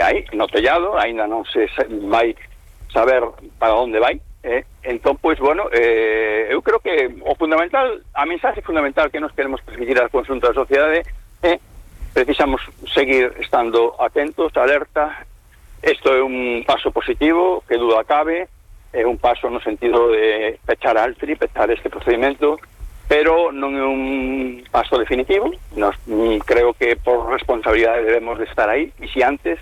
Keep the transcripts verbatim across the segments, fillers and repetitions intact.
aí no tellado, aínda non se vai saber para onde vai, eh? Entón, pois, bueno, eh, eu creo que o fundamental, a mensaxe fundamental que nos queremos transmitir ao conxunto da sociedade é eh, precisamos seguir estando atentos, alerta. Isto é un paso positivo, que duda cabe, é un paso no sentido de pechar Altri, pechar este procedimento, pero non é un paso definitivo. Nos, creo que por responsabilidade debemos de estar aí, vixiantes,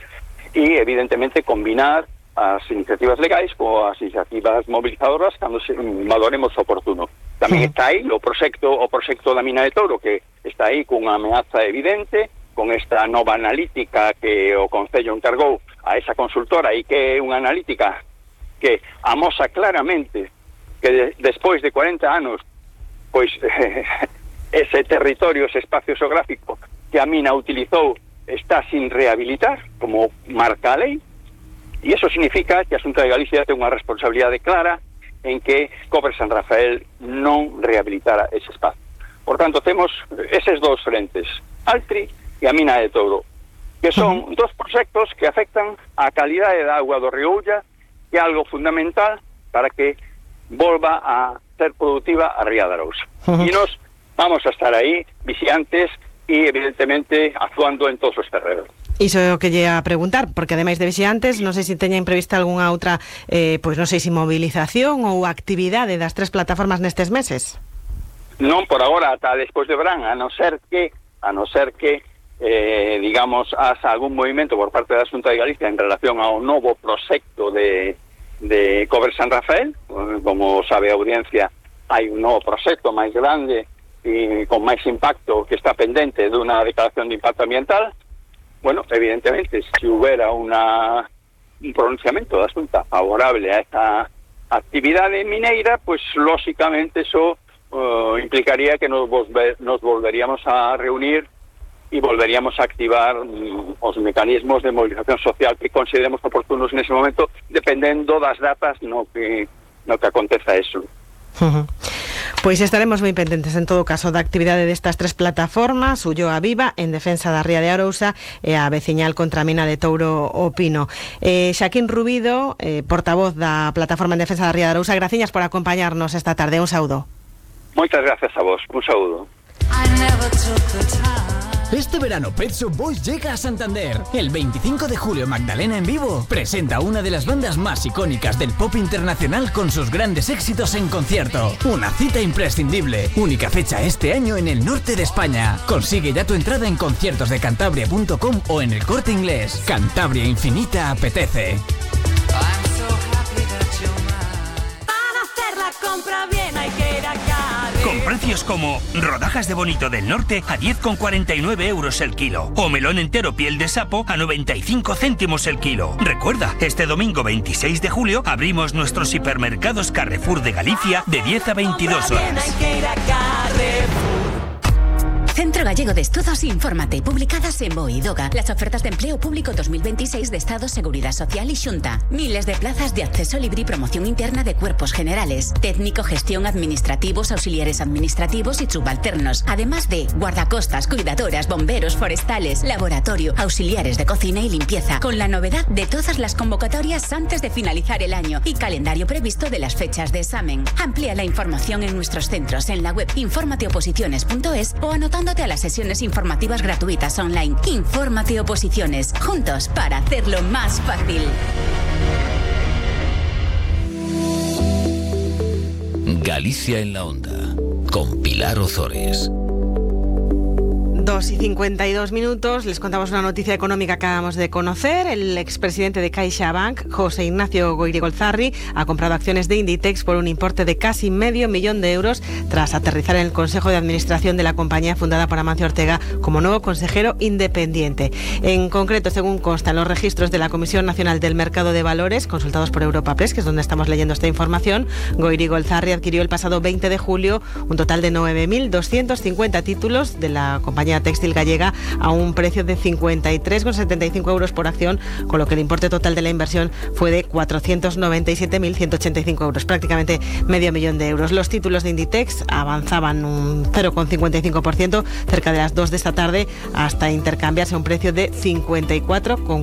e evidentemente combinar as iniciativas legais coas iniciativas movilizadoras cando se valoremos oportuno. Tamén está aí o proxecto o proxecto da mina de Touro, que está aí cunha ameaza evidente, con esta nova analítica que o Concello encargou a esa consultora, e que é unha analítica que amosa claramente que de, despois de cuarenta anos, pois eh, ese territorio, ese espacio xeográfico que a mina utilizou está sin rehabilitar, como marca a lei. E iso significa que a Xunta de Galicia ten unha responsabilidade clara en que Cobre San Rafael non rehabilitara ese espacio. Por tanto, temos eses dous frentes, Altri e a mina de Touro, que son uh-huh. dos proxectos que afectan a calidade da auga do río Ulla, que é algo fundamental para que volva a ser productiva a Ría de Arousa. Uh-huh. E nos vamos a estar aí, vixiantes, e evidentemente actuando en todos os terrenos. Iso é o que lle a preguntar, porque ademais de vixiantes, non sei se teñen prevista algunha outra, eh, pois non sei se movilización ou actividade das tres plataformas nestes meses. Non por agora, ata despois de verán, a non ser que, a non ser que, eh, digamos, haxa algún movimento por parte da Xunta de Galicia en relación ao novo proxecto de, de Cobre San Rafael. Como sabe a audiencia, hai un novo proxecto máis grande e con máis impacto que está pendente dunha declaración de impacto ambiental. Bueno, evidentemente, si hubiera una, un pronunciamiento da Xunta favorable a esta actividade mineira, pues lógicamente eso uh, implicaría que nos, volver, nos volveríamos a reunir y volveríamos a activar um, os mecanismos de movilización social que consideremos oportunos en ese momento, dependendo das datas no que, no que aconteza eso. Uh-huh. Pois estaremos moi pendentes en todo caso da actividade destas tres plataformas, Ulloa Viva en defensa da Ría de Arousa e a veciñal contra a mina de Touro o Pino. eh, Xaquín Rubido, eh, portavoz da plataforma en defensa da Ría de Arousa, graciñas por acompañarnos esta tarde, un saúdo. Moitas gracias a vos, un saúdo. Este verano Pet Shop Boys llega a Santander. El veinticinco de julio Magdalena en vivo presenta una de las bandas más icónicas del pop internacional con sus grandes éxitos en concierto. Una cita imprescindible. Única fecha este año en el norte de España. Consigue ya tu entrada en conciertos de cantabria punto com o en el Corte Inglés. Cantabria Infinita apetece. Para hacer la compra bien hay que ir a Cádiz. Con precios como rodajas de bonito del norte a diez con cuarenta y nueve euros el kilo o melón entero piel de sapo a noventa y cinco céntimos el kilo. Recuerda, este domingo veintiséis de julio abrimos nuestros hipermercados Carrefour de Galicia de diez a veintidós horas. Hay que ir a Carrefour. Centro Gallego de Estudos, infórmate. Publicadas en Boidoga. Las ofertas de empleo público dos mil veintiséis de Estado, Seguridad Social y Xunta. Miles de plazas de acceso libre y promoción interna de cuerpos generales. Técnico, gestión, administrativos, auxiliares administrativos y subalternos. Además de guardacostas, cuidadoras, bomberos, forestales, laboratorio, auxiliares de cocina y limpieza. Con la novedad de todas las convocatorias antes de finalizar el año y calendario previsto de las fechas de examen. Amplía la información en nuestros centros en la web infórmate oposiciones punto es o anotándote a las sesiones informativas gratuitas online. Infórmate Oposiciones, juntos para hacerlo más fácil. Galicia en la Onda, con Pilar Ozores. Dos y cincuenta y dos minutos, les contamos una noticia económica que acabamos de conocer. El expresidente de CaixaBank, José Ignacio Goirigolzarri, ha comprado acciones de Inditex por un importe de casi medio millón de euros tras aterrizar en el Consejo de Administración de la compañía fundada por Amancio Ortega como nuevo consejero independiente. En concreto, según consta en los registros de la Comisión Nacional del Mercado de Valores, consultados por Europa Press, que es donde estamos leyendo esta información, Goirigolzarri adquirió el pasado veinte de julio un total de nueve mil doscientos cincuenta títulos de la compañía textil gallega a un precio de cincuenta y tres con setenta y cinco euros por acción, con lo que el importe total de la inversión fue de cuatrocientos noventa y siete mil ciento ochenta y cinco euros, prácticamente medio millón de euros. Los títulos de Inditex avanzaban un cero con cincuenta y cinco por ciento cerca de las dos de esta tarde hasta intercambiarse a un precio de cincuenta y cuatro con